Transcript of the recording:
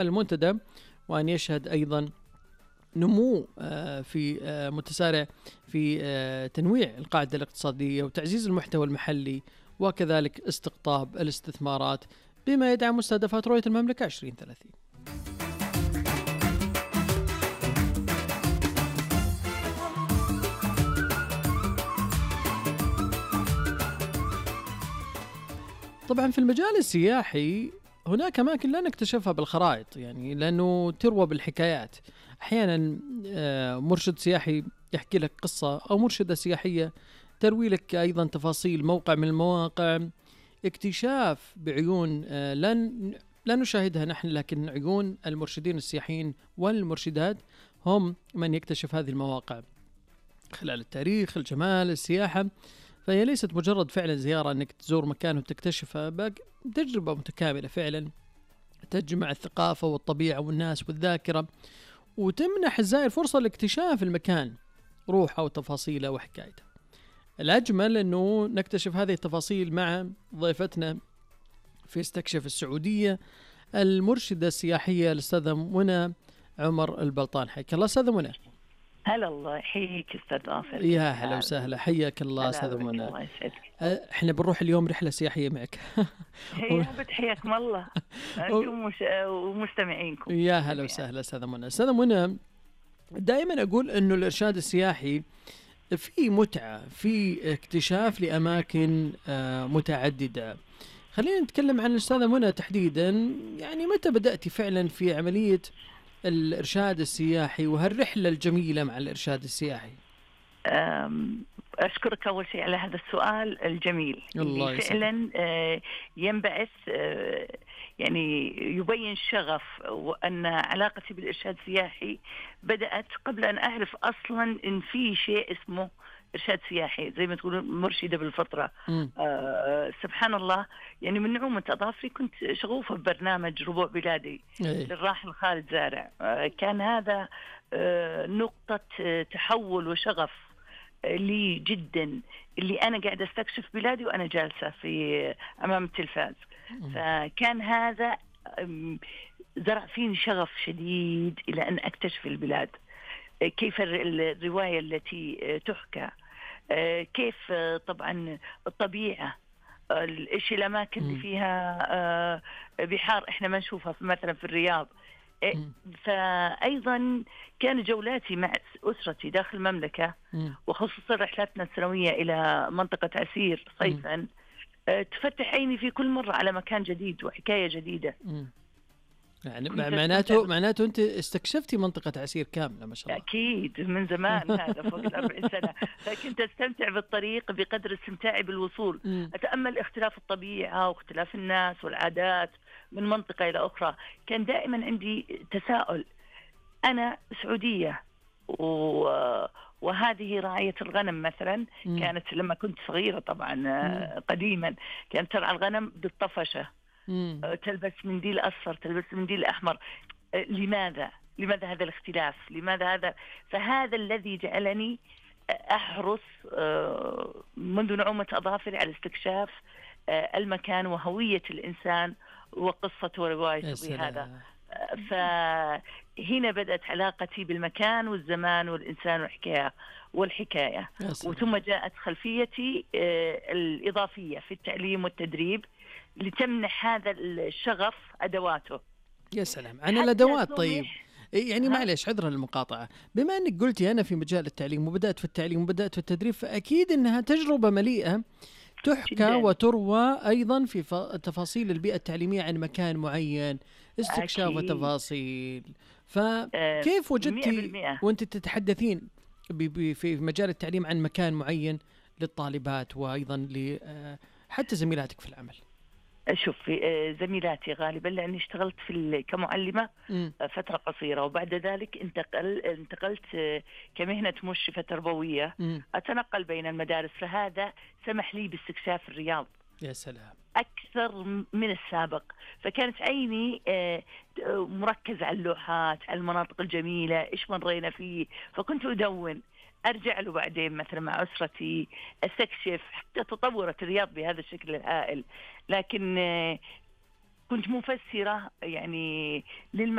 المنتدى، وأن يشهد أيضا نمو في متسارع في تنويع القاعدة الاقتصادية وتعزيز المحتوى المحلي، وكذلك استقطاب الاستثمارات بما يدعم مستهدفات رؤية المملكة 2030. طبعا في المجال السياحي هناك أماكن لا نكتشفها بالخرائط، يعني لأنه تروى بالحكايات. أحيانا مرشد سياحي يحكي لك قصة، أو مرشدة سياحية تروي لك أيضا تفاصيل موقع من المواقع. اكتشاف بعيون لا نشاهدها نحن، لكن عيون المرشدين السياحيين والمرشدات هم من يكتشف هذه المواقع خلال التاريخ، الجمال، السياحة. فهي ليست مجرد فعلا زيارة أنك تزور مكان وتكتشفها، تجربة متكاملة فعلا تجمع الثقافة والطبيعة والناس والذاكرة، وتمنح الزائر فرصة لاكتشاف المكان، روحه وتفاصيله وحكايته. الأجمل أنه نكتشف هذه التفاصيل مع ضيفتنا في استكشف السعودية، المرشدة السياحية الأستاذة منى عمر البلطان. حياك الله أستاذة منى. هلا، الله يحييك أستاذ ناصر. يا هلا وسهلا، حياك الله أستاذة منى. الله يسعدك. احنا بنروح اليوم رحلة سياحية معك. حياكم الله أنتم ومستمعينكم. يا هلا وسهلا أستاذة منى. أستاذة منى، دائما أقول أنه الإرشاد السياحي في متعة، في اكتشاف لأماكن متعددة. خلينا نتكلم عن الأستاذة منى تحديدا، يعني متى بدأتي فعلا في عملية الإرشاد السياحي وهالرحلة الجميلة مع الإرشاد السياحي؟ أشكرك أول شيء على هذا السؤال الجميل اللي فعلا ينبعث، يعني يبين شغف، وأن علاقتي بالإرشاد السياحي بدأت قبل أن أعرف أصلا إن في شيء اسمه إرشاد سياحي، زي ما تقولون مرشدة بالفطرة. سبحان الله، يعني من نعومة أظافري كنت شغوفة ببرنامج ربوع بلادي للراحل خالد زارع. كان هذا نقطة تحول وشغف لي جدا، اللي أنا قاعدة استكشف بلادي وأنا جالسة في أمام التلفاز. فكان هذا زرع فيني شغف شديد إلى أن أكتشف البلاد، كيف الرواية التي تحكى، كيف طبعا الطبيعة، الاشي الأماكن اللي فيها بحار إحنا ما نشوفها مثلا في الرياض. فأيضا كان جولاتي مع أسرتي داخل المملكة، وخصوصا رحلاتنا السنوية إلى منطقة عسير صيفا، تفتح عيني في كل مرة على مكان جديد وحكاية جديدة. يعني معناته أنت استكشفتي منطقة عسير كاملة ما شاء الله. أكيد من زمان، هذا فوق 40 سنة، لكن أستمتع بالطريق بقدر استمتاعي بالوصول. أتأمل اختلاف الطبيعة واختلاف الناس والعادات من منطقة إلى أخرى. كان دائما عندي تساؤل، أنا سعودية وهذه راعية الغنم مثلا كانت لما كنت صغيرة طبعا قديما كانت ترعى الغنم بالطفشة، تلبس منديل أصفر، تلبس منديل أحمر. لماذا هذا الاختلاف؟ لماذا هذا؟ فهذا الذي جعلني أحرص منذ نعومة أظافري على استكشاف المكان وهوية الإنسان وقصته وروايته بهذا. فهنا بدأت علاقتي بالمكان والزمان والإنسان والحكاية. وثم جاءت خلفيتي الإضافية في التعليم والتدريب لتمنح هذا الشغف أدواته. يا سلام عن الأدوات. طيب يعني معلش عذرا للمقاطعة، بما أنك قلتي أنا في مجال التعليم وبدأت في التعليم وبدأت في التدريب، فأكيد أنها تجربة مليئة تحكى جداً. وتروى أيضا في تفاصيل البيئة التعليمية عن مكان معين، استكشاف وتفاصيل. فكيف وجدتي وأنت تتحدثين في مجال التعليم عن مكان معين للطالبات وأيضا حتى زميلاتك في العمل؟ شوف، زميلاتي غالبا لأني اشتغلت كمعلمة فترة قصيرة، وبعد ذلك انتقلت كمهنة مشرفة تربوية، أتنقل بين المدارس، فهذا سمح لي باستكشاف الرياض. يا سلام، أكثر من السابق. فكانت عيني مركزة على اللوحات، على المناطق الجميلة، إيش مرينا فيه، فكنت أدون أرجع له بعدين مثلا مع أسرتي أستكشف. حتى تطورت الرياض بهذا الشكل الهائل. لكن كنت مفسرة يعني